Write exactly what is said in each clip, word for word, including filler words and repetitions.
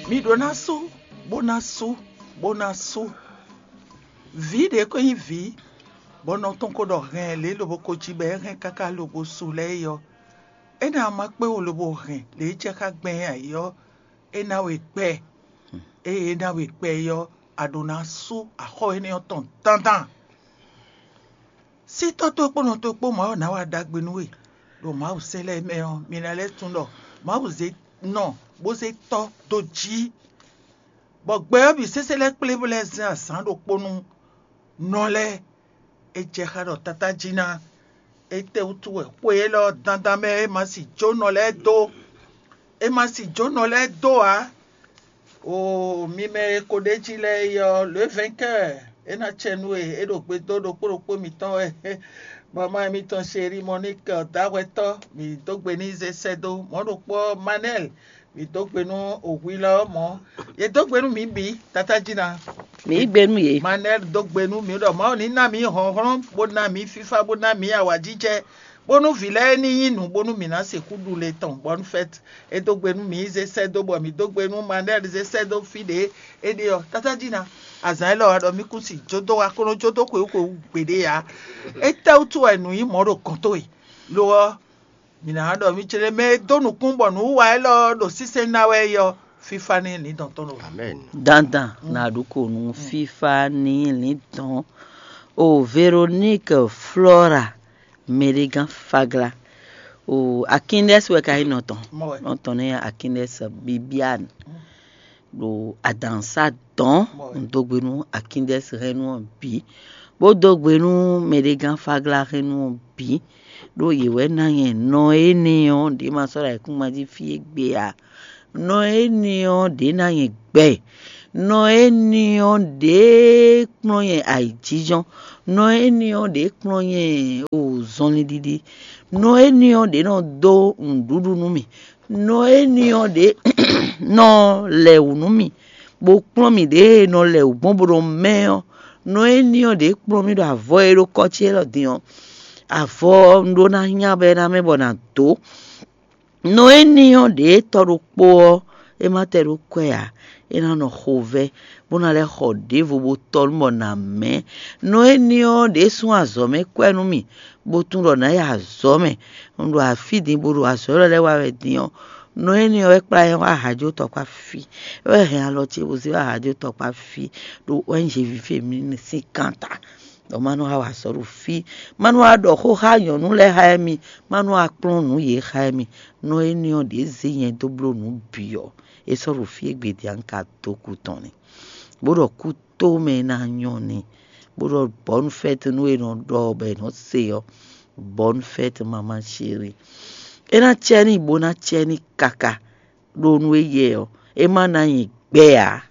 Mi ɖó ná sú, bó ná sú, bó ná sú. Vǐ ɖě ko nyí vǐ, bɔ nɔ tɔn ko ɖɔ hɛn lě lobo ko jí bɔ é hɛn káká lobo su lɛ́ɛ é ɔ́, é ná ma kpé wú lobo hɛn lě é jɛ xá gbɛn ɛ ayǐ ɔ́, é ná we kpɛ. Ée é ná we kpɛ é ɔ́, a ɖó ná sú axɔ́ énɛ́ ɔ́ tɔn dandan. Sí tɔ́ towe kpó nɔ towe kpó Mawu ná wa ɖagbe nú we. Ɖo Mawu sɛ́n lɛ́ɛ mɛ ɔ́, mi ná lɛ́ tunwun ɖɔ Mawu zé nɔ bó zé tɔ́ dó jí, bɔ gbɛ ɔ́ bǐ sésé lɛ́ kplé bó lɛ́ zɛ́n azǎn ɖokpó nú nɔ lɛ́ɛ. É jɛ xá ɖɔ tátájí ná, étɛ́wútu wɛ xwe élɔ́ dandan mɛ é ma si jó nɔ lɛ́ɛ dó? É ma si jó nɔ lɛ́ɛ dó ǎ. O mi mɛ e ko ɖ'é jí lɛ́ɛ é ɔ́, le vɛ̌nkɛ́ é ná cɛ nú we, é ɖo gbe dó ɖokpó ɖokpó mitɔn wɛ. Mama mitɔn Shéri Monique dǎhwɛtɔ́, mǐ dó gbe n'i zé sɛ́ dó. Mɔ̌ ɖokpó ɔ́, Manɛ́l, mǐ dó gbe nú òhwilɔ ɔ́ mɔ̌. Yě dó gbe nú mǐ bǐ, tatájí ná. Mǐ yí gbe nú yě. Manɛ́l dó gbe nú mǐ ɖɔ Mawu ní ná mǐ hlɔ̌nhlɔ́n, bó ná mǐ fífá, bó ná mǐ awǎjijɛ, bónú vǐ lɛ́ɛ ní nyí nǔ bónú mǐ ná sixú ɖu le tɔn bɔnú fɛ́t. É dó gbe nú mǐ zé sɛ́ dó bɔ mǐ dó gbe nú Manɛ́l zé sɛ́ dó fí ɖě é ɖe ɔ́. Tatájí ná, azǎn élɔ́ wá ɖɔ mí kún si jódó wá kónó jódó xwewú xwewú gbeɖé ǎ. Étɛ́wútu wɛ nǔ nyí mɔ̌ ɖo gɔ̌n towe? Lo ɔ́, mǐ ná ɖɔ mì céɖé mɛ e dó nukún bɔ nǔwiwa élɔ́ ɖo sísɛ́n ná wɛ é ɔ́, fífá ní lǐndɔ̌n tɔn ɖo. Amɛn. Dandan na ɖu ko nú fífá ní lǐndɔ̌n. O Véronique Flora Meɖégán Fagla. O Akindɛs wɛ ka nyí nɔ tɔn. Mɔ wɛ. Nɔ tɔn nɛ Akindɛs Bibiane. Ɖo adansa dɔn. Mɔ wɛ. Un dó gbe nú Akindɛs hɛn nú ɔ́ bǐ. Bó dó gbe nú Meɖégán Fagla hɛn nú ɔ́ bǐ. Ɖó yě wɛ ná nyɛ nɔ énɛ́ ɔ́ ɖě ma sɔ́ ɖo ayǐkúngban jí fí égbé ǎ. Nɔ énɛ́ ɔ́ ɖě ná nyɛ gbɛ. Nɔ énɛ́ ɔ́ ɖě kplɔ́n nyɛ ayǐjínjɔ́n. Nɔ énɛ́ ɔ́ ɖě kplɔ́n nyɛ o zɔnlin ɖiɖi. Nɔ énɛ́ ɔ́ ɖě nɔ dó nǔɖuɖu nú mì. Nɔ énɛ́ ɔ́ ɖě nɔ lɛ wǔ nú mì, bó kplɔ́n mì ɖě e nɔ lɛ wǔ gbɔn bó nɔ mɛ ɔ́. Nɔ énɛ́ ɔ́ ɖě kplɔ́n mì ɖo avɔ e ɖo kɔ ce élɔ́ din ɔ́. Avɔ ɔ́, un ɖó ná nya bɔ é ná mɛ bɔ nǎ dó. Nɔ énɛ́ ɔ́ ɖě tɔ́ ɖokpó ɔ́, é má tɛ ɖó kwɛ́ ǎ, é ná nɔ xovɛ́, bó ná lɛ́ xɔ ɖěvo bó tɔ́ nú bɔ nǎ mɛ́. Nɔ énɛ́ ɔ́ ɖě sún azɔ̌ mɛ kwɛ́ nú mì, bó tunwun ɖɔ nǎ yi azɔ̌ mɛ. Un ɖo afí din bó ɖo azɔ̌ élɔ́ lɛ́ɛ wa wɛ din ɔ́, nɔ énɛ́ ɔ́ wɛ kplá nyɛ wá Ahajo tɔkpá fí, é wɛ hɛn alɔ ce bó zé wá Ahajo tɔkpá fí, ɖo O N G vǐ fě mì sín kan ta. Ɖɔ má nɔ wá wa azɔ̌ ɖo fí, má nɔ wá ɖɔ xó xá nyɔ̌nu lɛ́ɛ xá émí, má nɔ wá kplɔ́n nǔ yě xá émí. Nɔ énɛ́ ɔ́ ɖě zé nyɛ dó bló nǔ bǐ ɔ́, é sɔ́ ɖo fí égbé din a un ka dó kú tɔn n'i, bó ɖɔ kú tó mɛ ná nyɔ́ n'i, bó ɖɔ bɔ̌nu fɛ́t nú e nɔ ɖɔ bɔ è nɔ se ɔ́, bɔ̌nu fɛ́t maman chéri. É ná cɛ n'i bó ná cɛ n'i káká, ɖó nú éyɛ́ ɔ́, é má ná nyɛ gbɛ ǎ.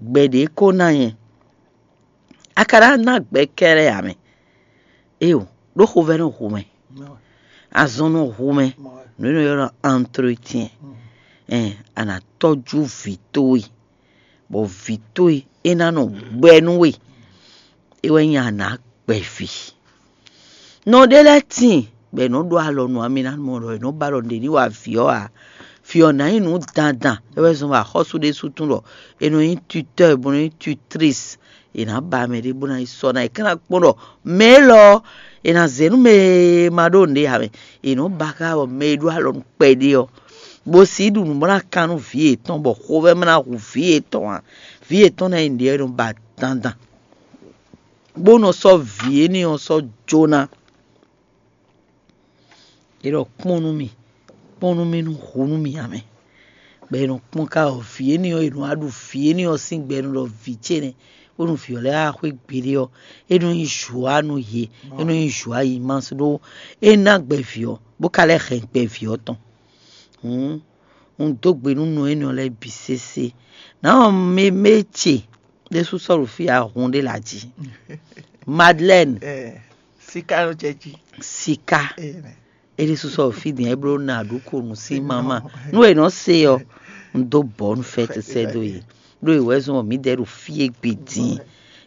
Gbɛ ɖě kó ná nyɛ. A ka ná ná gbɛ kɛ́ɖɛ́ ǎ mɛ. Éeǒ, ɖó xovɛ́ nɔ hu mɛ, azɔn nɔ hu mɛ, nǔ e nɔ ylɔ́ ɖɔ entretien. Ɛn, a nǎ tɔ́jú vǐ towe, bɔ vǐ towe é ná nɔ gbɛ nú we. É wɛ nyí a nǎ gbɛ vǐ. Nɔ ɖé lɛ́ɛ tíin bɔ è nɔ́ ɖó alɔ nú amì ná mɔ ɖɔ è nɔ́ ba ɖɔ nǔɖé ní wa vǐ ɔ́ ǎ. Vǐ ɔ́ ná nyí nǔ dandan, é wɛ zɔ́n bɔ axɔ́sú ɖésú tunwun ɖɔ è nɔ nyí tutɔ́ bó nɔ nyí tutrísi. È nǎ ba mɛ ɖé bó ná yi sɔ́ ná, è ka ná kpɔ́n ɖɔ mɛ élɔ́ ɔ́, è nǎ zɛ nú mɛ e ma ɖó nǔɖé ǎ mɛ. È nɔ́ ba xá bɔ mɛ e ɖó alɔ nú kpɛɖé ɔ́, bó sí ɖu nǔ bó ná kan nú vǐ yětɔn, bɔ xovɛ́ ma ná hu vǐ yětɔn ǎ. Vǐ yětɔn ná nyí nǔɖé ɔ́ è nɔ ba dandan, bó nɔ sɔ́ vǐ énɛ́ ɔ́ sɔ́ jó ná. É ɖɔ kpɔ́n nú mì, kpɔ́n nú mì nú hu nú mì ǎ mɛ. Bɔ è nɔ kpɔ́n ká ɔ́, vǐ énɛ́ ɔ́, è nɔ wá ɖu vǐ énɛ́ ɔ́ sín gbɛ, è nɔ ɖɔ vǐ ce nɛ́, bónú vǐ ɔ́ lɛ́ wá xwé gbeɖé ɔ́, é nɔ nyí zhuá nú yě, é nɔ nyí zhuá yi má ɖó é ná gbɛ vǐ ɔ́, bó ka lɛ́ hɛn gbɛ vǐ ɔ́ tɔn. Hǔn un dó gbe nú nɔ énɛ́ ɔ́ lɛ́ɛ bǐ sésé. Nǎ ɔ́, mɛ mɛ ce ɖésú sɔ́ ɖo fí ahun ɖé lǎ jí. Madeleine. Sika nɔ jɛ jí. Sika. É ɖésú sɔ́ ɖo fí din é bló ná ɖu ko nú sín mama. Nú è nɔ se ɔ́, un dó bɔ̌ nú fɛ́ sɛ́ dó yě. Ɖó è wɛ zɔn mǐdɛɛ ɖo fí e gbe dín.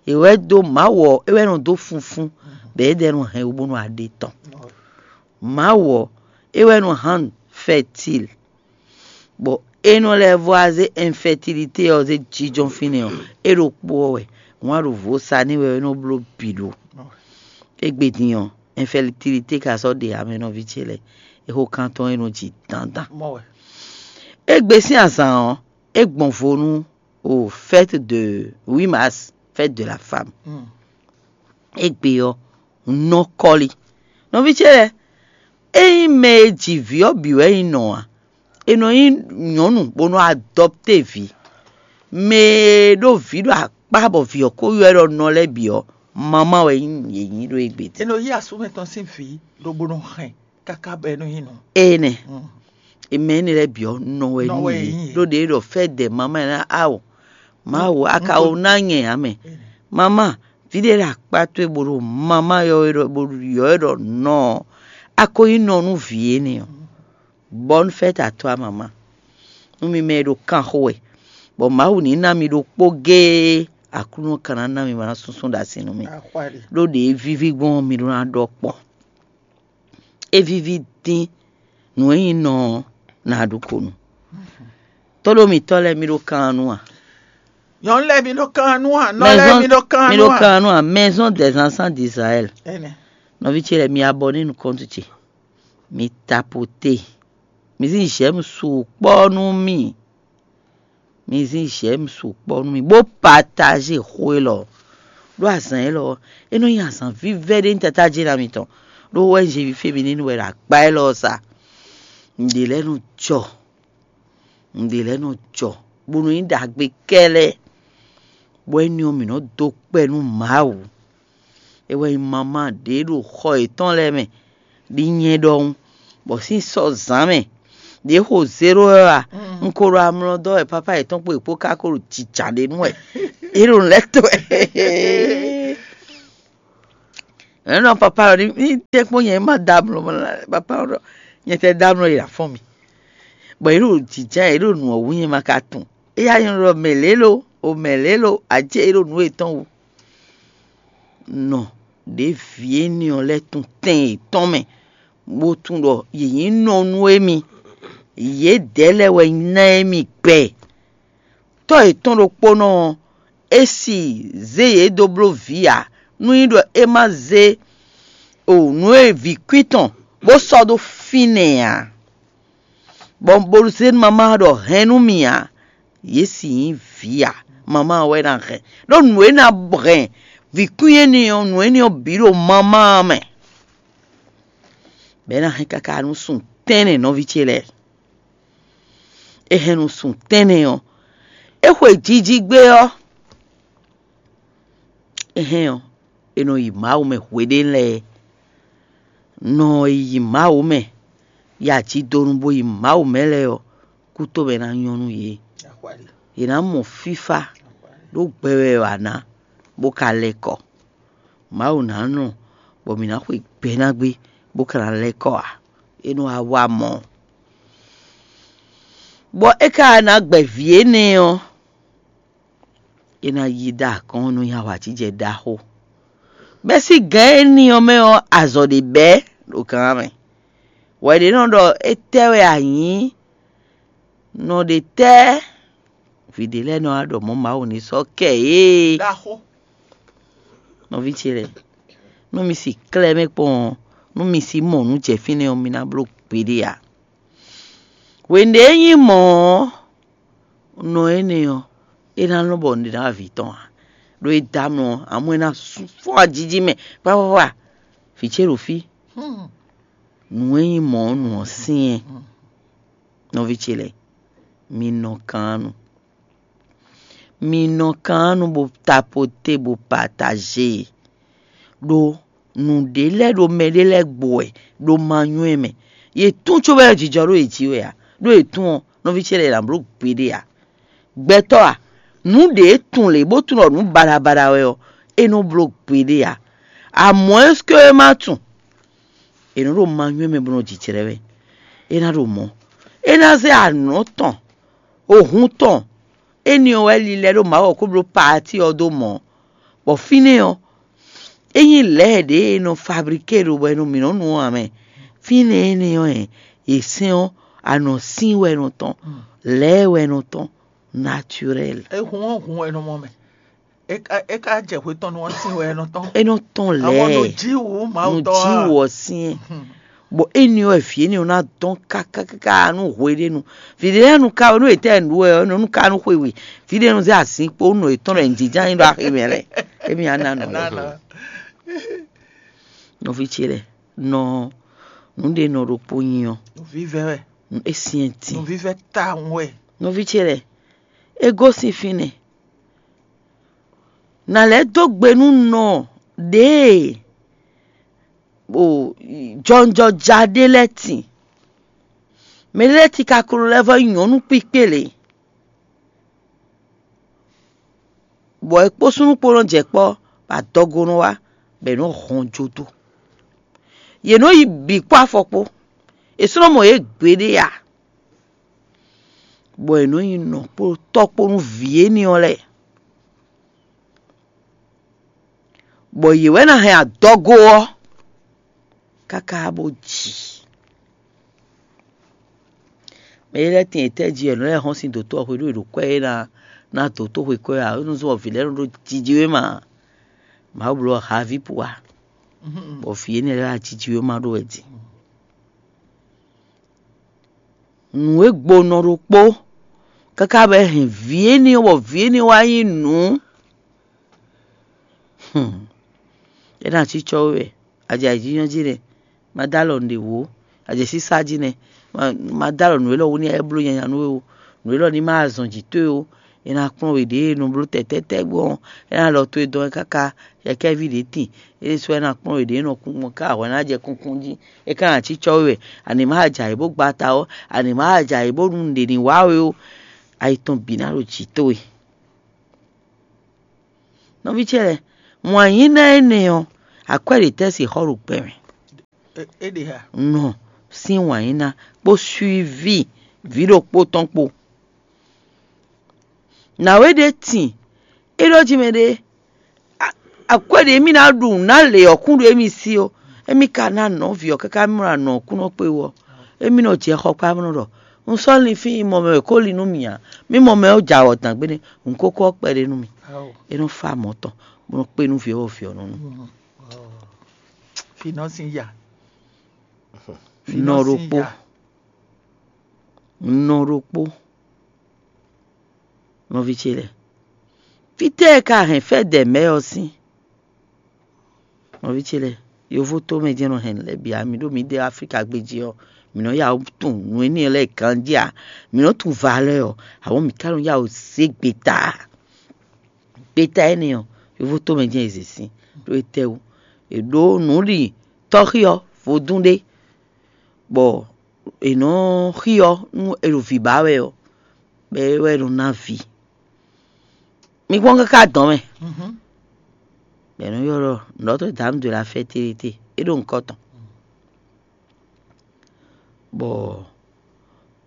È wɛ dó Mawu ɔ́, é wɛ nɔ dó funfun, bɔ é ɖɛ nɔ hɛn wú bónú a ɖe tɔn. Mawu ɔ́, é wɛ nɔ hán fɛtil, bɔ É nɔ lɛ́ vɔ wá zé infertilité ɔ́ zé jínjɔ́n fínɛ́ ɔ́, é ɖokpó ɔ́ wɛ. Wǎn ɖo vo sa n'i wɛ é nɔ bló bǐ ɖó. Égbé din ɔ́, infertilité ka sɔ́ ɖe ǎ mɛ nɔví ce lɛ́ɛ. É xó kan tɔn é nɔ ji dandan. Égbé sín azǎn ɔ́, é gbɔn vo nú o fête de huit mars, fête de la femme. Égbé ɔ́, nɔ kɔli. Nɔví ce lɛ́ɛ, ényí mɛ e ji vǐ ɔ́ bǐ wɛ nyí nɔ ǎ, è nɔ nyí nyɔ̌nu bó nɔ adɔpté vǐ. Mɛ e ɖó vǐ ɖo akpá bɔ vǐ ɔ́ ko ylɔ́ ɛ ɖɔ nɔ lɛ́ɛ bǐ ɔ́, mamá wɛ nyí yě nyí ɖó égbé din. È nɔ yí asú mɛtɔn sín vǐ ɖo bó nɔ hɛn káká bɔ é nɔ nyí nɔ. Énɛ́. Mɛ énɛ́ lɛ́ɛ bǐ ɔ́, nɔ wɛ nyí yě. Ɖó ɖě ɖɔ fɛ́ dɛ mamá ɛ ná awo. Mawu a ka wo ná nyɛ ǎ mɛ. Mamá, vǐ ɖé ɖo akpá towe bó ɖo mamá yɔ wɛ ɖɔ bó ɖo yɔ wɛ ɖɔ nɔ ɔ́, a ko nyí nɔ nú vǐ énɛ́ ɔ́. Bonne fête à toi, maman. Nú mi mɛ e ɖo kan xo wɛ, bɔ Mawu ní ná mi ɖokpó géé, Aklúnɔ ka ná ná mi ma ná súnsún ɖo asi nú mi. Ɖó ɖě e víví gbɔn ɔ́, mi ɖó ná ɖɔ kpɔ́n. É víví dín, nǔ e nyí nɔ ɔ́, nǎ ɖu ko nu. Tóɖó mǐtɔn lɛ́ɛ, mi ɖo kan nu a? Nyɔ̌nu lɛ́ɛ mi ɖo kan nu a? Nɔ lɛ́ɛ mi ɖo kan nu a? Mi ɖo kan nu a? Maison des enfants d'Israël. Nɔví ce lɛ́ɛ, mi abɔné nukɔntú ce. Mi tapoté. Mi zín j'aime sukpɔ́ nú mì. Mi zín j'aime sukpɔ́ nú mì, bó partager xó élɔ́. Ɖó azǎn élɔ́, é nɔ nyí azǎn vívɛ́ ɖé nú tatájéná mitɔn. Ɖó wɛ un zé vǐ féminínu wɛ ɖo akpá élɔ́ sa. Nǔɖé lɛ́ɛ nɔ jɔ. Nǔɖé lɛ́ɛ nɔ jɔ, bó nɔ nyí ɖagbe kɛ́lɛ́. Bɔ énɛ́ ɔ́, mǐ nɔ dó kpɛ nú Mawu. É wɛ nyí mamá ɖě ɖo xɔ yětɔn lɛ́ɛ mɛ, ɖi nyɛ ɖɔhun, bɔ sín sɔ zǎn mɛ ɖě xo zéro wɛ wá. Un ko ɖo amlɔ dɔ́ wɛ pápá yětɔn kpo yě kpó ká ko ɖo jǐjǎ ɖé nu wɛ. É ɖo nǔ lɛ́ɛ to wɛ. Ɛ̌ nɔ papa ɔ́ ní ní tɛ́nkpɔ́n nyɛ ma dó amlɔ mɔ papa ɔ́ ɖɔ nyɛ tɛ dó amlɔ yi afɔ́n mi. Bɔ yě ɖo jǐjǎn yě ɖo nǔ ɔ́ wú nyɛ ma ka tunwun. Éyɛ́ nyɛ ɖɔ mɛ̌ lě lo, o mɛ̌ lě lo, a jɛ yě ɖo nǔ yětɔn wú. Nɔ ɖě vǐ énɛ́ ɔ́ lɛ́ tunwun tɛn yětɔn mɛ, bó tunwun ɖɔ yě nyí nɔ nú émí. Yědɛɛ lɛ́ɛ wɛ ná émí gbɛ. Tɔ́ yětɔn ɖokpónɔ ɔ́, é si zé yě dó bló vǐ ǎ, nú nyí ɖɔ é ma zé o nǔ e vǐ kwín tɔn bó sɔ́ dó fínɛ́ ǎ. Bɔ bó zé nú mamá ɖɔ hɛn nú mì ǎ, yě si nyí vǐ ǎ, mamá wɛ ná hɛn. Ɖó nǔ e ná hɛn vǐ kwín énɛ́ ɔ́, nǔ énɛ́ ɔ́ bǐ ɖo mamá ɔ́ mɛ. Bɔ é ná hɛn káká nú sun tɛ́nnɛ nɔví ce lɛ́ɛ. É hɛn nú sun tɛ́nnɛ ɔ́, é xwe jiji gbé ɔ́, é hɛn ɔ́, è nɔ yi Mawu mɛ hweɖé lɛ́ɛ. Nɔ e yi Mawu mɛ, yi ajidonu bó yi Mawu mɛ lɛ́ɛ ɔ́, kú tomɛ ná nyɔ́ nú yě. Yě ná mɔ fífá ɖó gbɛ wɛ wǎ ná, bó ka lɛ́ kɔ. Mawu ná nɔ bɔ mǐ ná xwe gbɛ ná gbé, bó ka ná lɛ́ kɔ ǎ. É nɔ wá wá mɔ. Bɔ é ka ná gbɛ vǐ énɛ́ ɔ́, é ná yí dó akɔ́n nú nyi awǎjijɛ ɖaxó. Bɛ́sín gǎn énɛ́ ɔ́ mɛ ɔ́, azɔ̌ ɖé bɛ́ ɖo gǎn mɛ. Wɛ ɖě nɔ ɖɔ étɛ́ wɛ a nyǐ? Nɔ ɖě tɛ́? Vǐ ɖé lɛ́ɛ nɔ wá ɖɔ mɔ̌ Mawu ní sɔ́ kɛ yě. Ɖaxó. Nɔví ce lɛ́ɛ, nú mi si klɛ́ mɛ kpɔ́n ɔ́, nú mi si mɔ nǔ jɛ fínɛ́ ɔ́, mi ná bló gbeɖé ǎ. Hwenu e é nyí mɔ̌ ɔ́, nɔ énɛ́ ɔ́, é ná lɔn bɔ nǔɖé ná wá vǐ tɔn ǎ. Ɖó é dó amlɔ ɔ́, amɔ̌ é ná fɔ́n ajiji mɛ kpákpákpá. Vǐ ce ɖo fí. Nǔ e nyí mɔ̌ ɔ́, nǔ ɔ́ syɛ́n. Nɔví ce lɛ́ɛ, mi nɔ kan nu. Mi nɔ kan nu bó tapoté bó patajé. Ɖó nǔɖé lɛ́ɛ ɖo mɛɖé lɛ́ɛ gbo wɛ ɖo manywɛ́ mɛ. Yě tún cóbɔ jijɔ ɖó yě jí wɛ ǎ. Ɖó yě tún ɔ́, nɔví ce lɛ́ɛ ná bló gbeɖé ǎ. Gbɛtɔ́ a, nǔ ɖě e tun lě bó tunwun ɖɔ nǔ baɖabaɖa wɛ ɔ́, é nɔ bló gbeɖé ǎ. Amɔ̌ é má tun, è nɔ ɖo manywɛ́ mɛ bó nɔ jijlɛ́ wɛ. É ná ɖo mɔ̌. É ná zé anɔ̌ tɔn, ohun tɔn, énɛ́ ɔ́ wɛ lílɛ́ ɖó Mawu ɔ́ kó bló paati ɔ́ dó mɔ̌. Bɔ fínɛ́ ɔ́, ényí lɛ̌ ɖě e nɔ fablíké ɖo bɔ è nɔ mǐ nɔ nu ɔ́ ǎ mɛ, fínɛ́ énɛ́ ɔ́, è sɛ́n ɔ́, anɔ̌sin wɛ nɔ tɔn. lɛ́ɛ wɛ nɔ tɔn naturel. Ehun ɔ́ hun wɛ nɔ mɔ mɛ. É ka é ka jɛ hwe tɔn nu ɔ́ sin wɛ nɔ tɔn. É nɔ tɔn lɛ́ɛ. Àwọn nɔ jí wǔ Mawu tɔn. Nǔjíwɔ syɛ́n. Bɔ éni ɔ́ vǐ éni ɔ́ ná dɔn kákákáká nú hweɖénu. Vǐɖénu ka nú yětɛ́ nǔ wɛ ɔ́ nɔ nú ka nú xwe we. Vǐɖénu zé azin kpó nɔ yětɔn lɛ njíjá nyi ɖo axi mɛ lɛ. Émi á ná nɔ lɛ. Nɔví ce lɛ nɔ nǔɖé nɔ ɖokpó nyi ɔ́. Nǔvívɛ́ wɛ. É syɛ́n tín. Nǔvívɛ́ tawun wɛ. Nɔví ce lɛ é gosín fínɛ́. Nǎ lɛ́ dó gbe nú nɔ ɖěe jɔnjɔja ɖé lɛ́ɛ tin. Mɛ ɖé lɛ́ɛ tin ka klo lɛ́ vɔ nyí nyɔ̌nu kpíkpé lě, bɔ é kpó súnnu kpó nɔ jɛ kpɔ́, bɔ adɔgo nɔ wá, bɔ è nɔ hɔn jó dó. Yě nɔ yi bǐ kpó afɔ kpó. È sɔ́ nɔ mɔ yě gbeɖé ǎ. Bɔ è nɔ nyi nɔ kpó tɔ́ kpó nú vǐ éní ɔ́ lɛ́ɛ. Bɔ yě wɛ ná hɛn adɔgo ɔ́ káká bó ji. Mɛ e lɛ́ tin yětɛ́ jí wɛ nǔ lɛ́ɛ hɔn sín dǒtó ɔ́ xwedó e ɖo kwɛ́ é ná ná dǒtó xwe kwɛ́ ǎ, é nɔ zɔ́n vǐ lɛ́ɛ nɔ ɖó jijiwéma. Mawu bló haví pu wá, bɔ vǐ énɛ́ lɛ́ɛ wá jijiwéma ɖó wɛ din. Nǔ e gbo nɔ ɖokpó káká bɔ é hɛn vǐ énɛ́ ɔ́, bɔ vǐ énɛ́ wá nyí nǔ. É ná cí cɔ́ we wɛ, a jɛ ayǐjínjɔ́n jí nɛ́, ma dó alɔ nǔɖé wǒ, a jɛ sísá jí nɛ́, ma dó alɔ nǔ élɔ́ wú ní é bló nyanya nú we ó, nǔ élɔ́ ní ma zɔn jǐ towe ó. É ná kplɔ́n we ɖě e nɔ bló tɛ̌tɛ́tɛ́ gbɔn ɔ́, é ná lɔ towe dɔn ɛ káká. Kɛkɛ́ví ɖě tin, é sɔ́ é ná kplɔ́n we ɖě e nɔ kún gbɔn ká hwɛ ná jɛ kunkun jí. É ka ná cí cɔ́ we wɛ, a nǐ ma ja yě bó gba ta ó, a nǐ ma ja yě bónú nǔɖé ní wá we ó. Ayi tɔn bǐ ná ɖo jǐ towe. Nɔví ce lɛ́ɛ, wǎnyíná énɛ́ ɔ́, akwɛ́ ɖě tɛ́ sixɔ ɖo gbɛ mɛ? É ɖe ha. Nɔ sín wǎnyíná kpó suiví vǐ ɖokpó tɔn kpó. Nǎwe ɖé tin, é ɖɔ jí mɛ ɖé, akwɛ́ ɖě émí ná ɖu nǔ ná lě ɔ́ kún ɖo émí sí ó, émí ka ná nɔví ɔ́ káká mí nɔ anɔ ɔ́ kún nɔ kpé wú ɔ́, émí nɔ jɛ xɔ kpá bó nɔ ɖɔ: Un sɔ́ linfín yi mɔ mɛ wɛ kó li nú mì ǎ. Mí mɔ mɛ ɔ́ jɛ awɔ dǎn gbé nɛ́, un kókó ɔ́ kpɛɖé nú mì. É nɔ fá mɔ̌ tɔn, bó nɔ kpé nú vǐ ɔ́ vǐ ɔ́ nɔ nú mì. Fínɔ́ sín ya. Nɔ ɖokpó. Nɔ ɖokpó. Nɔví ce lɛ́ɛ, fítɛ́ e ka hɛn fɛ́ dɛ mɛ̌ ɔ́ sín? Nɔví ce lɛ́ɛ, yovótomɛ jɛ́n nɔ hɛn nǔ lɛ́ɛ bǐ ǎ. Mǐ ɖo mǐdɛɛ Aflíka gbé jí ɔ́, mǐ nɔ́ ya wǔ tunwun nǔ énɛ́ lɛ́ɛ ganjí ǎ. Mǐ nɔ́ tunwun valeur ɔ́, amɔ̌ mǐ ka nɔ ya wǔ zé gbeta ǎ. Gbeta énɛ́ ɔ́, yovótomɛ jɛ́n è zě sín ɖó étɛ́wú? È ɖǒ nǔ ɖi tɔ́xí ɔ́ vodún ɖé, bɔ è nɔ xí ɔ́ nú è ɖo vǐ ba wɛ ɔ́, bɔ é wɛ nɔ ná vǐ. Mi kpɔ́n káká dɔ̌n mɛ, bɔ è nɔ ylɔ́ ɖɔ Notre Dame de la Fertilité, é ɖo nukɔn tɔn. Bɔ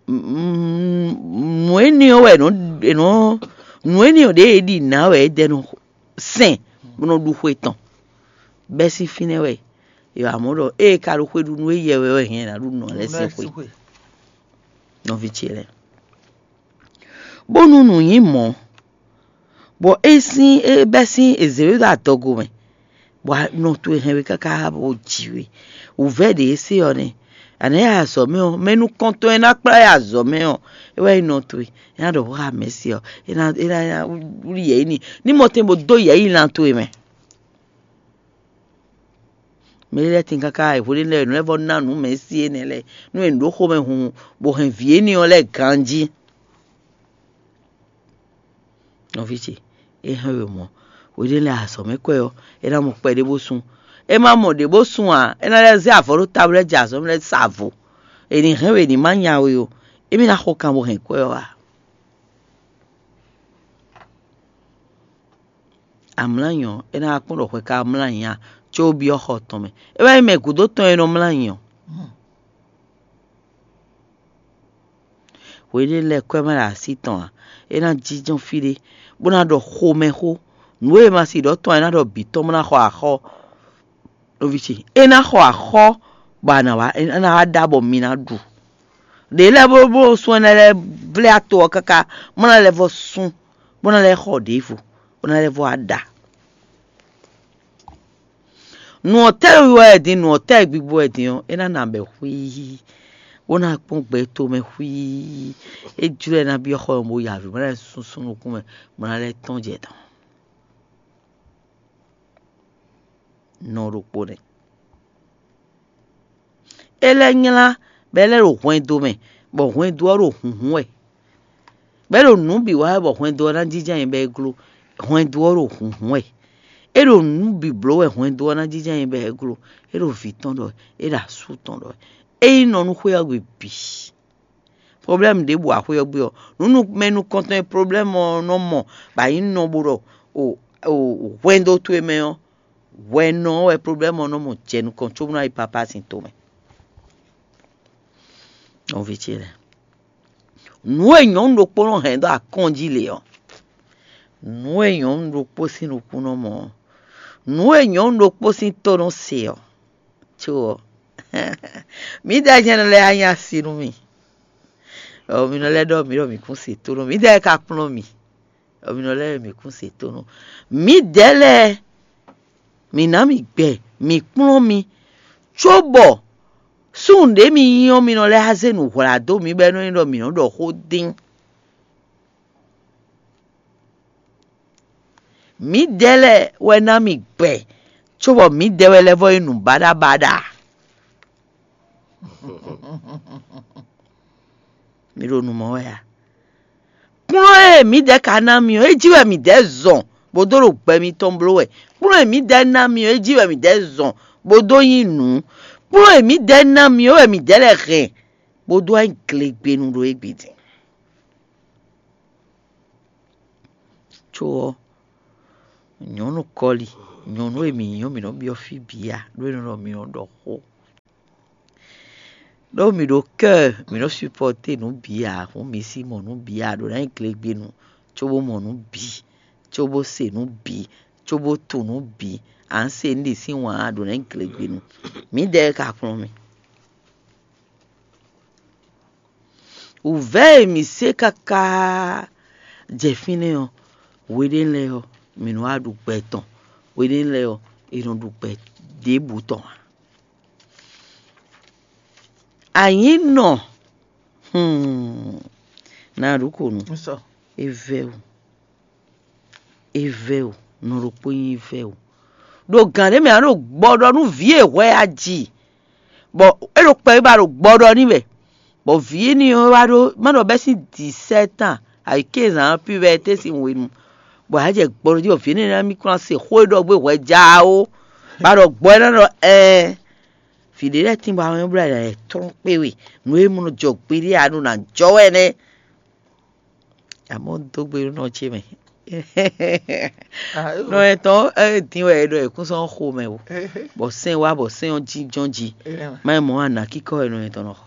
nǔ énɛ́ ɔ́ wɛ è nɔ nǔ énɛ́ ɔ́ ɖě è ɖi nǎ wɛ é dɛ nɔ sɛn bó nɔ ɖu xwe tɔn. Bɛ́ sín fínɛ́ wɛ è wǎ mɔ ɖɔ ée ka ɖo xwe ɖu nú éyɛ́ wɛ wɛ hɛn è nǎ ɖu nǔ ɔ́ lɛ́ɛ sín xwe. Nɔví ce lɛ́ɛ, bónú nǔ nyí mɔ̌, bɔ é sín é bɛ́ sín è zě we ɖo adɔgo mɛ, bɔ nɔ towe hɛn we káká bó ji we. Wǔvɛ́ ɖě é se ɔ́ nɛ́, a nǎ yi azɔ̌ mɛ ɔ́, mɛ nukɔntɔn e ná kplá yi azɔ̌ mɛ ɔ́, é wɛ nyí nɔ towe. É ná ɖɔ xó xá mɛ̌si ɔ́, é ná é ná wlí yɛ̌yi n'i, ní mɔ tɛn bó dó yɛ̌yi lan towe mɛ. Mɛ lɛ́ɛ tín káká hweɖé lɛ́ɛ nǔ lɛ́ɛ vɔ ná nǔ mɛ sí énɛ́ lɛ́ɛ, nú è nǔ ɖó xomɛ hun bó hɛn vǐ énɛ́ ɔ́ lɛ́ɛ ganjí. Nɔví ce, é hɛn we mɔ̌, hweɖé lɛ́ɛ azɔ̌ mɛ kwɛ́ ɔ́, é ná mɔ kpɛɖé bó sú. É má mɔ ɖě bó sú ǎ, é ná lɛ́ zé avɔ ɖó tabu lɛ́ɛ jɛ azɔ̌ mɛ lɛ́ɛ sa vo. È nǐ hɛn we è nǐ má nya we ó, émí ná xo kan bó hɛn kwɛ́ ɔ́ ǎ. Amlányɔ, é ná wá kpɔ́n ɖɔ hwɛ ka mlá nyi a, có byɔ́ xɔ tɔn mɛ. É wá nyí mɛ gǔdo tɔn e nɔ mlá nyi ɔ́. Hweɖé lɛ́ɛ kwɛ́ má ɖo así tɔn ǎ, é ná jínjɔ́n fí ɖé, bó ná ɖɔ xomɛxó. Nǔ e ma si ɖɔ tɔn ǎ, é ná ɖɔ bǐ tɔn bó ná xɔ axɔ́. Nɔví ce, é ná xɔ axɔ́ bɔ a nǎ wá é ná wá ɖa bɔ mi ná ɖu. Ɖě lɛ́ɛ bó bó sún ɛnɛ lɛ́ɛ vlɛ́ ato ɔ́ káká, bó ná lɛ́ vɔ sún, bó ná lɛ́ xɔ ɖěvo, bó ná lɛ́ vɔ aɖa. Nǔ ɔ́ tɛ́ wiwa wɛ din, nǔ ɔ́ tɛ́ gbigbo wɛ din ɔ́, é ná nɔ abɛ xwíí, bó ná kpɔ́n gbɛ tomɛ xwíí. É jló ɛ ná byɔ́ xɔ ɔ́ bó ya avǐ, bó ná lɛ́ súnsún nukún mɛ, bó ná lɛ́ tɔ́n jɛ tɔn. Nɔ ɖokpó nɛ́. É lɛ́ nylá, bɔ é lɛ́ ɖo hwɛndo mɛ, bɔ hwɛndo ɔ́ ɖo hǔnhún wɛ. Bɔ é ɖo nǔ bǐ wa wɛ bɔ hwɛndo ɔ́ ná jínjɔ́n ayǐ bɔ é gló. Hwɛndo ɔ́ ɖo hǔnhún wɛ. É ɖo nǔ bǐ bló wɛ hwɛndo ɔ́ ná jínjɔ́n ayǐ bɔ é gló. É ɖo vǐ tɔn ɖɔ wɛ, é ɖo asú tɔn ɖɔ wɛ. É yi nɔ nú xwé ɔ́ gbe bǐ. Problème ɖěbǔ axwé ɔ́ gbe ɔ́, nǔ mɛ nukɔntɔn e problème ɔ́ nɔ mɔ, bɔ a nyǐ nɔ bo ɖɔ o o hwɛndo towe mɛ ɔ́, hwɛnɔ ɔ́ wɛ problème ɔ́ nɔ mɔ jɛ nukɔn cóbó ná yi papá sin tomɛ. Nɔví ce lɛ́ɛ, nǔ e nyɔ̌nu ɖokpó nɔ hɛn dó akɔ́n jí lě ɔ́, nǔ e nyɔ̌nu ɖokpó sín nukún nɔ mɔ ɔ́, nǔ e nyɔ̌nu ɖokpó sín tó nɔ se ɔ́, có ɔ́, mǐdɛɛ jɛ́n nɔ lɛ́ wá nyí asi nú mì. Ɔ, mi nɔ lɛ́ ɖɔ mǐ ɖɔ mǐ kún se tónú, mǐdɛɛ ka kplɔ́n mì. Ɔ, mi nɔ lɛ́ ɖɔ mǐ kún se tónú. Mǐdɛɛ lɛ́ɛ, mǐ ná mì gbɛ, mǐ kplɔ́n mi, cóbɔ súnnu ɖě mi nyí ɔ́, mi nɔ lɛ́ wá zé nǔ hwlǎ dó mǐ, bɔ é nɔ nyí ɖɔ mǐ nɔ ɖɔ xó dín. Mǐdɛɛ lɛ́ɛ wɛ ná mì gbɛ, cóbɔ mǐdɛɛ wɛ lɛ́ vɔ nyí nǔbaɖabaɖa. Mi ɖo nǔ mɔ wɛ a? Kplɔ́n e mǐdɛɛ ka ná mi ɔ́, é jí wɛ mǐdɛɛ zɔn bó dó ɖo gbɛ mitɔn bló wɛ. Kplɔ́n e mǐdɛɛ ná mi ɔ́, é jí wɛ mǐdɛɛ zɔn bó dó nyí nǔ. Kplɔ́n e mǐdɛɛ ná mi ɔ́ wɛ mǐdɛɛ lɛ́ɛ hɛn bó dó wá nyí glegbenu ɖo égbé din. Có ɔ́, nyɔ̌nu kɔli, nyɔ̌nu e mǐ nyí ɔ́, mǐ nɔ byɔ́ fí bǐ ǎ, ɖó é nɔ ɖɔ mǐ nɔ ɖɔ xó. Ɖó mǐ ɖo kɛ́ mǐ nɔ supɔ́te nǔ bǐ ǎ, hǔn mǐ sí mɔ nǔ bǐ ǎ, ɖo ná nyí glegbenu, cóbó mɔ nǔ bǐ, cóbó se nǔ bǐ, cóbó tunwun nǔ bǐ. A nǎ se nǔ ɖi sín wǎn ǎ, ɖo ná nyí glegbenu. Mǐdɛɛ ka kplɔ́n mì. Wǔvɛ́ e mǐ se káká jɛ fínɛ́ ɔ́, hweɖénu lɛ́ɛ ɔ́, mǐ nɔ wá ɖu gbɛ tɔn, hweɖénu lɛ́ɛ ɔ́, è nɔ ɖu gbɛ ɖěbǔ tɔn ǎ. Anyǐnɔ, hmm, nǎ ɖu kǒ nu. É vɛ́ wú. É vɛ́ o, nɔ ɖokpó nyí vɛ́ o. Ɖo gǎn ɖé mɛ ǎ ɖo gbɔɖɔ nú vǐ e hwɛ a ji, bɔ é ɖo kpɛví ba ɖo gbɔɖɔ n'i wɛ, bɔ vǐ énɛ́ ɔ́ wá ɖó má ɖɔ bɛ́ sín dǐsɛ́tán ayǐkézán ɔ́ pivɛté sín hwenu, bɔ yě jɛ gbɔɖɔ jí, bɔ vǐ énɛ́ ná mì kplɔ́n se xó e ɖɔ gbé hwɛ jaa ó, bá ɖɔ gbɔ é ná ɖɔ ɛɛ. Vǐ ɖé lɛ́ɛ tín bɔ amɛ blá yě tlɔ́n kpé we, nǔ e mɔ jɔ gbeɖé ǎ ɖo nǎ jɔ wɛ nɛ́. Amɔ̌ dó gbe nɔ ce mɛ. Nɔ etɔn ɛ dín wɛ é ɖɔ è kún sɔ́ xo mɛ o. Bɔ sɛn wá bɔ sɛn ɔ́ jí jɔ́n jí. Má nyí mɔ̌ anǎ kíkɔ wɛ nɔ etɔn nɔ xɔ.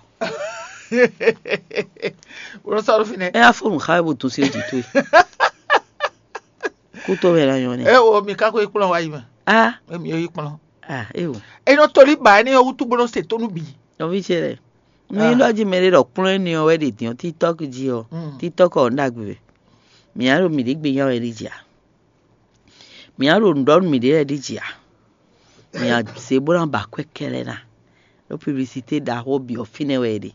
Wolo sɔ́ ɖo fínɛ́. É yá fó nǔ xa wɛ bó tún sí ojú tó e. Kútó wɛ la nyɔ nɛ. Ɛ o, mi ka ko yi kplɔ́n wá yi mɛ. A. Emi yi kplɔ́n. A, é o. Enɔ toli ba ni ɔ́ wútu bó nɔ se tónú bǐ. Nɔví ce lɛ. Nu yi ɖɔ jí mɛ ɖé ɖɔ kplɔ́n énɛ́ ɔ́ wɛ ɖe din ɔ́, TikTok jí ɔ́. TikTok ɔ́ ɖagbe wɛ. Mǐ á ɖo mǐ ɖě gbe nya wɛ ɖi jí a? Mǐ á ɖo nǔ ɖɔ nú mǐɖée lɛ́ɛ ɖi jí a? Mǐ á zě bó ná ba akwɛ́ kɛ́ɖɛ́ ná. Ɖó publicité ɖaxó bǐ ɔ́ fínɛ́ wɛ è ɖe.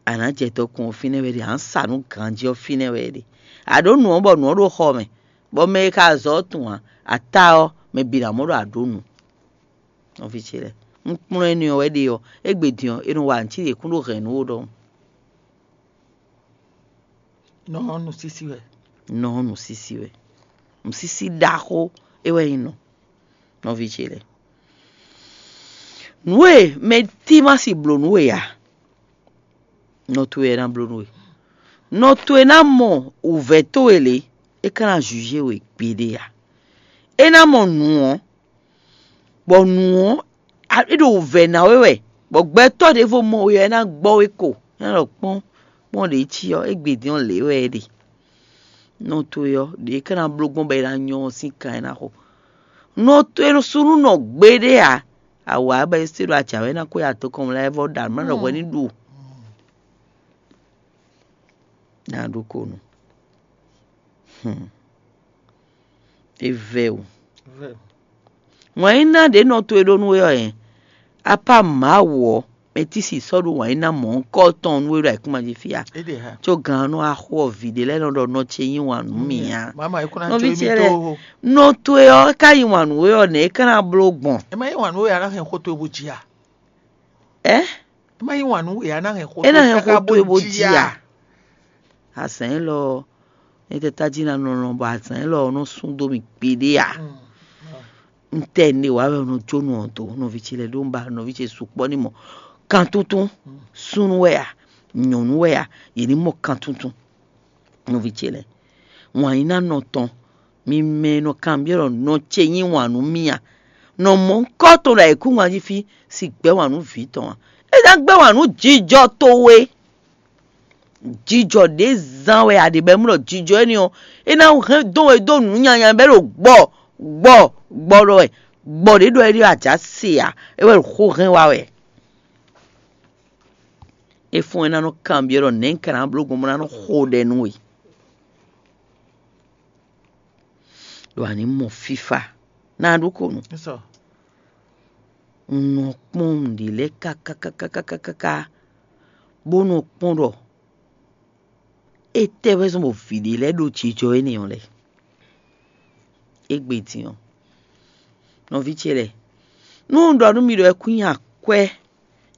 A nǎ jɛ dɔkun ɔ́ fínɛ́ wɛ è ɖe. A nǎ sa nǔ ganjí ɔ́ fínɛ́ wɛ è ɖe. A ɖǒ nǔ ɔ́ bɔ nǔ ɔ́ ɖo xɔ mɛ, bɔ mɛ e ka zɔ ɔ́ tunwun ǎ. A ta ɔ́, mɛ bǐ ná mɔ ɖɔ a ɖǒ nǔ. Nɔví ce lɛ́ɛ, un kplɔ́n ɛ nú ɔ́ wɛ ɖe ɔ́, égbé din ɔ́, è nɔ wa nǔ cí ɖě kún ɖo hɛ̌nnu ó ɖɔhun. Nɔ ɔ́ nǔsísí wɛ. Nɔ ɔ́ nǔsísí wɛ. Nǔsísí ɖaxó é wɛ nyí nɔ. Nɔví ce lɛ́ɛ, nǔ e mɛ tí ma si blǒ nú we ǎ, nɔ towe ná bló nú we. Nɔ towe ná mɔ wǔvɛ́ towe lě, é ka ná jǔjé we gbeɖé ǎ. É ná mɔ nǔ ɔ́, bɔ nǔ ɔ́, é ɖo wǔvɛ́ ná we wɛ, bɔ gbɛtɔ́ ɖěvo mɔ we ɔ́, é ná gbɔ we ko, é ná ɖɔ kpɔ́n, kpɔ́n ɖě cí ɔ́, égbé din ɔ́ lě wɛ é ɖe. Nɔ towe ɔ́, ɖě é ka ná bló gbɔn bɔ é ná nyɔ́ ɔ́ sín kan é ná xo. Nɔ towe súnnu nɔ gbeɖé ǎ. Awǎ bɔ é se ɖo acǎ wɛ é ná kó yi atɔkɔn mlá é vɔ ɖa nǔ má ɖɔ hwɛ ní ɖu. Ná ɖó ko nu. Hmm. É vɛ́ o. Wǎn yíná ɖě nɔ towe ɖó nú we ɔ́, hɛn, apa Mawu ɔ́, mɛ tí si sɔ́ ɖó wǎn yíná mɔ̌hunkɔ tɔn nú we ɖo ayǐkúngban jí fí a? Có gan ɔ́ nɔ wá xo ɔ́, vǐ ɖé lɛ́ɛ nɔ ɖɔ nɔ ce yí wǎn nú mì ǎ. Mama, é kún ná Nɔví towe ce mì lɛ́ɛ, tó. Nɔ towe ɔ́, é ka yí wǎn nú we ɔ́, nɛ̌ é ka ná bló gbɔn? É má yí wǎn nú we ǎ, ná hɛn xó towe bó jí a? Ɛ? É má yí wǎn nú we ǎ, ná hɛn xó É ná towe hɛn káká xó bó towe bó jí jí a? a? Azǎn élɔ́ ɔ́, é tɛ tají ná nɔ lɔn bɔ azǎn élɔ́ ɔ́ nɔ sún dó mì gbeɖé a? Mm. Un tɛ ne wǎ wɛ nɔ jó nɔ ɔ́ dó nɔví ce lɛ́ɛ ɖó un ba nɔví ce sukpɔ́ ní mɔ kantuntun. Súnnu wɛ a, nyɔ̌nu wɛ a, yě ní mɔ kantuntun. Nɔví ce lɛ́ɛ, wǎn yíná nɔ tɔn, mi mɛ e nɔ kanbyɔ́ ɖɔ nɔ ce yí wǎn nú mì a? Nɔ mɔ̌hunkɔ tɔn ɖo ayǐkúngban jí fí si gbɛ́ wǎn nú vǐ tɔn a? É ná gbɛ́ wǎn nú jijɔ towe. Jijɔ ɖě zán wɛ a ɖe bɔ é mɔ ɖɔ jijɔ énɛ́ ɔ́, é ná hɛn dó we dó nǔ nyanya bɔ é ɖo gbɔ gbɔ gbɔ ɖɔ wɛ. Gbɔ ɖě ɖɔ é ɖe ɔ́, a jǎ se ǎ, é wɛ ɖo xó hɛn wá wɛ. É fɔ́n é ná nɔ kanbyɔ́ ɖɔ nɛ̌ un ka ná bló gbɔn bó ná nɔ xo ɖɛ nú we, ɖo a ní mɔ fífá. Ná ɖó ko nu. Un nɔ kpɔ́n nǔɖé lɛ́ɛ káká káká káká káká, bó nɔ kpɔ́n ɖɔ étɛ́ wɛ zɔ́n bɔ vǐ ɖé lɛ́ɛ ɖo jijɔ énɛ́ ɔ́ lɛ́ɛ. Égbé din ɔ́, nɔví ce lɛ́ɛ, nú un ɖɔ nú mi ɖɔ é kún nyi akwɛ́,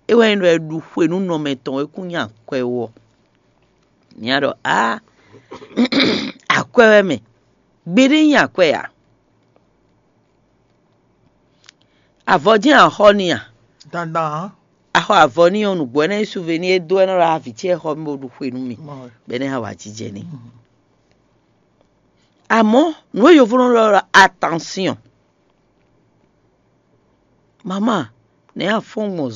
é wɛ nyí ɖɔ è ɖu xwe nú nɔ mɛtɔn é kún nyi akwɛ́ ó ɔ́, mi wá ɖɔ aa akwɛ́ wɛ mɛ, gbeɖé nyí akwɛ́ ǎ. Avɔ jɛ́n a xɔ n'i a? Dandan. A xɔ avɔ n'i ɔ́, nǔgbó ɛnɛ́ nyí suvenir e dó ɛnɛ ɖo avǐ ce xɔ mì bó ɖu xwe nú mì, bɔ é nɛ́ wá jijɛ n'i. Amɔ̌ nǔ e yovó nɔ ɖɔ ɖɔ attention, mama, nɛ̌ a fɔ́n gbɔn